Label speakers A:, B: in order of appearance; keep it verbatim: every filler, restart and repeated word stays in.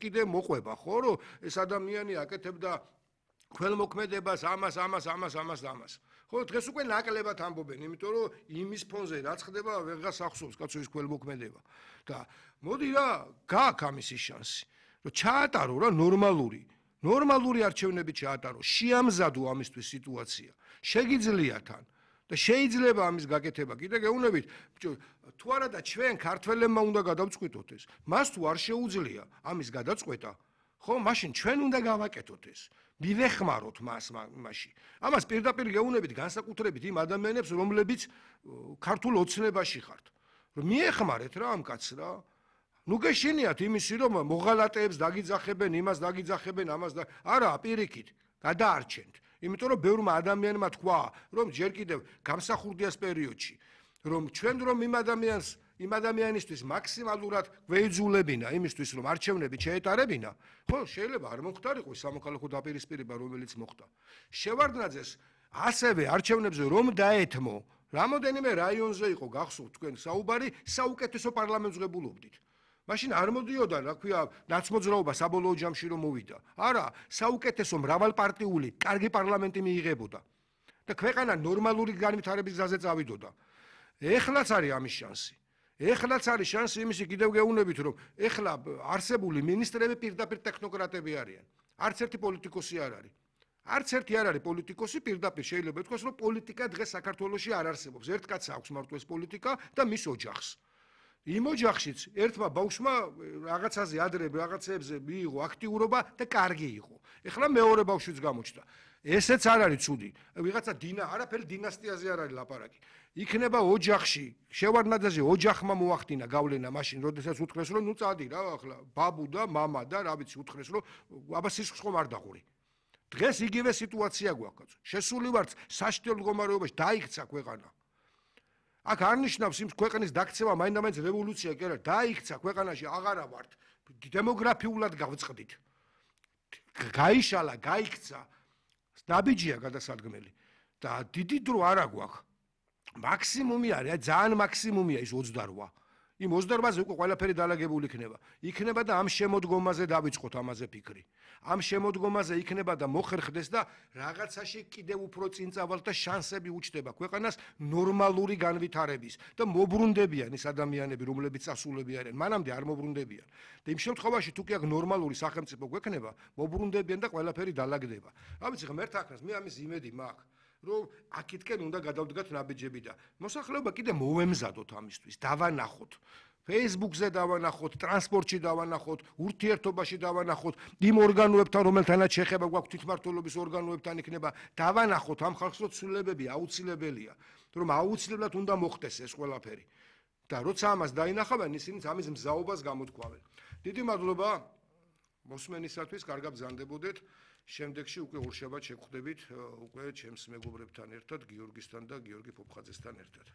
A: კიდე მოყვება ხო რომ ეს ადამიანი აკეთებდა ქველმოქმედებას ამას ამას ამას ამას და ამას ხო დღეს უკვე ნაკლებად ამბობენ იმიტომ რომ იმის ფონზე რაც ხდება ვეღარ ახსოვს კაცო ის ქველმოქმედება და მოდი რა გაქვს ამის შანსი რომ ჩაატარო რა ნორმალური ნორმალური არჩევნები ჩაატარო შეამზადო ამისთვის სიტუაცია შეგიძლია თან და შეიძლება ამის გაკეთება კიდე გეუბნებით თუ არა და ჩვენ ქართველებმა უნდა გადავწყვიტოთ ეს მას თუ არ შეუძლია ამის გადაწყვეტა ხო მაშინ ჩვენ უნდა გავაკეთოთ ეს მივეხმაროთ მას მასში ამას პირდაპირ გეუბნებით განსაკუთრებით იმ ადამიანებს რომლებიც ქართულ ოცნებაში ხართ რომ მიეხმარეთ რა ამ კაცს რა ნუ გეშინიათ იმისი რომ მოღალატეებს დაგიძახებენ იმას დაგიძახებენ ამას და არა პირიქით გადაარჩენთ იმიტომ რომ ბევრმა ადამიანმა თქვა რომ ჯერ კიდევ გამსახურდიას პერიოდში რომ ჩვენ რომ იმ ადამიანს იმ ადამიანისთვის მაქსიმალურად გვეიძულებინა იმისთვის რომ არჩევნები შეეტარებინა ხო შეიძლება არ მომხდარიყო სამოქალაქო დაპირისპირება რომელიც მოხდა შევარდნაძეს ასევე არჩევნებზე რომ დაეთმო რამოდენიმე რაიონზე იყო გახსოვთ თქვენ საუბარი საუკეთესო პარლამენტს ღებულობდით მაშინ არ მოდიოდა რა ქვია ნაცმოძრაობა საბოლოო ჯამში რომ მოვიდა არა საუკეთესო მრავალპარტიული კარგი პარლამენტი მიიღებოდა და ქვეყანა ნორმალური განვითარების გზაზე წავიდოდა ეხლაც არის ამის შანსი ეხლაც არის შანსი იმისი კიდევ გეუბნებით რომ ეხლა არსებული მინისტრები პირდაპირ ტექნოკრატები არიან არც ერთი პოლიტიკოსი არ არის არც ერთი არ არის პოლიტიკოსი პირდაპირ შეიძლება ითქვას რომ პოლიტიკა დღეს საქართველოში არ არსებობს ერთ კაცს აქვს მარტო ეს პოლიტიკა და მის ოჯახს იმ ოჯახშიც ერთმა ბავშვმა რაღაცაზე ადრე რაღაცებზე მიიღო აქტიურობა და კარგი იყო ეხლა მეორე ბავშვიც გამოჩნდა ესეც არ არის ცუდი ვიღაცა დინა არაფერი დინასტიაზე არ არის ლაპარაკი იქნება ოჯახში შევარდნაძეზე ოჯახმა მოახდინა გავლენა მაშინ როდესაც უთხრეს რომ ნუ წადი რა ახლა ბაბუ და მამა და რა ვიცი უთხრეს რომ აბა სისხლს ხომ არ დაღური დღეს იგივე სიტუაცია გვაქვს შესული ვართ საშტიო მდგომარეობაში დაიქცა ქვეყანა აქ არ ნიშნავს იმ ქვეყნის დაქცევა მაინდა-მაინც რევოლუცია კი არა დაიქცა ქვეყანაში აღარა ვართ დემოგრაფიულად გავწყდით გაიშალა გაიქცა ნაბიჯია გადასადგმელი და დიდი დრო არა გვაქვს მაქსიმუმი არის ძალიან მაქსიმუმია ის ოცდარვა იმ ოცდარვაზე უკვე ყველაფერი დალაგებული იქნება იქნება და ამ შემოდგომაზე დავიწყოთ ამაზე ფიქრი ამ შემოდგომაზე იქნება და მოხერხდეს და რაღაცაში კიდევ უფრო წინ წავალთ და შანსები უჩნდება ქვეყანას ნორმალური განვითარების და მობრუნდებიან ის ადამიანები რომლებიც წასულები არიან მანამდე არ მობრუნდებიან და იმ შემთხვევაში თუ კი აქ ნორმალური სახელმწიფო გვექნება მობრუნდებიან და ყველაფერი დალაგდება რა ვიცი ღმერთ აკრას მე ამის იმედი მაქვს რომ აქეთკენ უნდა გადავდგათ ნაბიჯები და მოსახლეობა კიდე მოვემზადოთ ამისთვის დავანახოთ Facebook-ზე დავანახოთ ტრანსპორტში დავანახოთ ურთიერთობაში დავანახოთ იმ ორგანოებთან რომელთანაც შეხება გვაქვს თვითმმართველობის ორგანოებთან იქნება დავანახოთ ამ ხალხს რომ ცვლილებები აუცილებელია რომ აუცილებლად უნდა მოხდეს ეს ყველაფერი და როცა ამას დაინახავენ ისინიც ამის მზაობას გამოთქვამენ დიდი მადლობა მოსმენისათვის კარგად ბრძანდებოდეთ შემდეგში უკვე ორშაბათს შეგხვდებით უკვე ჩემს მეგობრებთან ერთად გიორგისთან და გიორგი ფოფხაძესთან ერთად